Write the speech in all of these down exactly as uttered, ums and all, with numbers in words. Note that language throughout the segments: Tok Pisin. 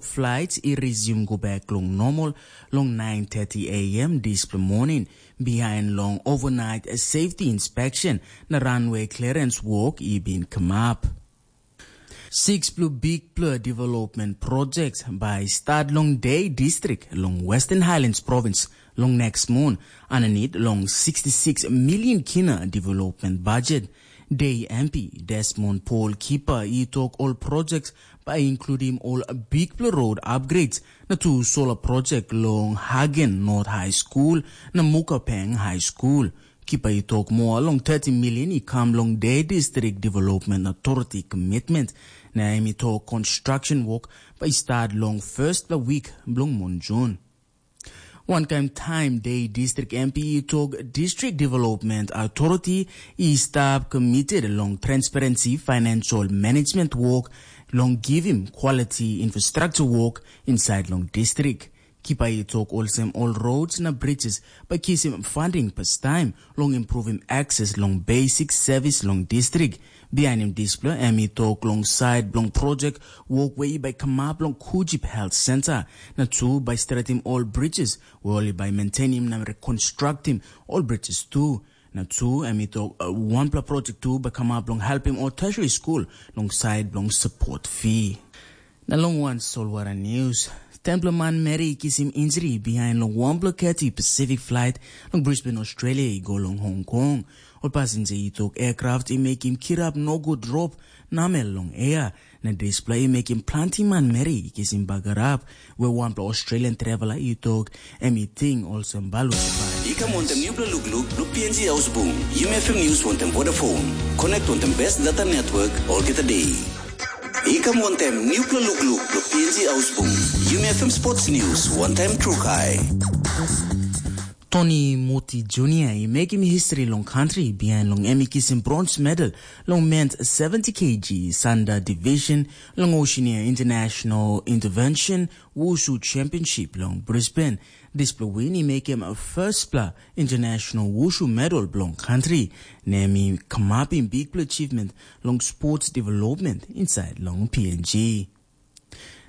Flights i resume go back long normal long nine thirty a m dispela morning, behind long overnight safety inspection na runway clearance work i bin come up. Six blue big blue development projects by start long Day District long Western Highlands Province long next moon, underneath long sixty-six million kina development budget. Day M P Desmond Paul Kipa i tok ol projects by including all big blue road upgrades na two solar project long Hagen North High School na Mukapeng High School. Kipa i tok moa long thirty million i kam long Day District Development Authority commitment, na em i tok construction work by start long first week bilong Monjun. Wankain taim Day District M P i tok District Development Authority i stap committed long transparency financial management work long giving quality infrastructure work inside long district. Kipa i tok olsem ol roads na bridges by kisim funding pastaim long improving access long basic service long district. Bihainim dispela em i tok long sait bilong projek wok we i bai kamap long Kujip Health Center, na tu bai stretim ol bridges we ol i bai maintainim na rekonstruktim ol bridges tu. Na tu em i tok uh, wanpela projek tu bai kamap long helpim ol tertiary school long sait bilong support fee. Na long wan solwara news, tenpela manmeri i kisim injuri bihain long wanpela Cathay Pacific flight long Brisbane, Australia i go long Hong Kong. Ol pasinja i tok aircraft i mekim kirap nogut drop namel long air, na dispela i mekim planti manmeri i kisim bagarap, we wanpela Australian traveler i tok em i ting olsem balut i bai. I kam wantem nupela lukluk blo P N G Ausbung, Yumi F M News wantem Vodafone. Connect wantem best data network olgeta day. I kam wantem nupela lukluk blo P N G Ausbung, Yumi F M Sports News wantem Trukai. Tony Muti Junior i mekim history long country behind long em i kisim bronze medal long men's seventy K G Sanda Division long Oceania International Intervention Wushu Championship long Brisbane. Dispela win i mekim firstpela international wushu medal bilong country, na em i kamapim bikpela achievement long sports development inside long P N G.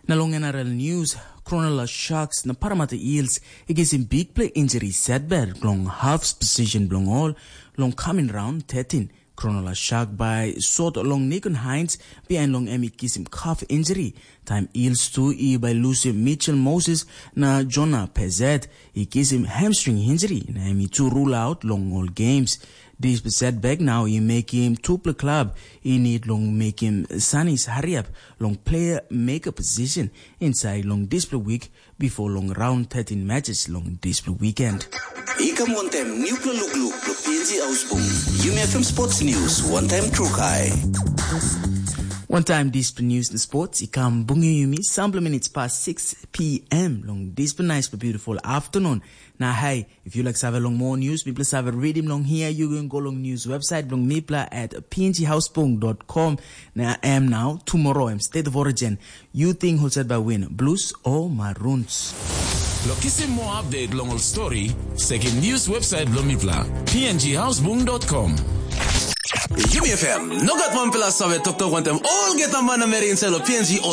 Na long N R L News, Cronulla Sharks na Parramatta Eels i kisim bikpela injury setback long half position bilong ol long coming round thirteen. Cronulla Shark bai sot long Nikon Hines, bihain long em i kisim calf injury. Taim Eels tu i bai lusim Mitchell Moses na Jonah Pezet i kisim hamstring injury, na em i tu rule out long ol games. Dispela setback nau i mekim tupela klab i nid long mekim sanis hariap long player maker position inside long dispela week before long round thirteen matches long dispela weekend. I kam wantem nupela lukluk blo P N G Ausbung, Yumi F M Sports News wantem Trukai. Wantaim dispela news na sports i kam bungim yumi sampela minutes past six p.m. long dispela nice beautiful afternoon. Na hey, if you like save long more news, mipela save read him long here, you can go long news website long mipla at pnghausbung.com. Na em now tomorrow em state of origin. You think who said by win, blues or maroons? Lo kisim more update long ol story, sekim news website bilong mipla, pnghausbung.com. Yumi F M, nogat wanpela save toktok wantem olgeta manameri inside lo P N G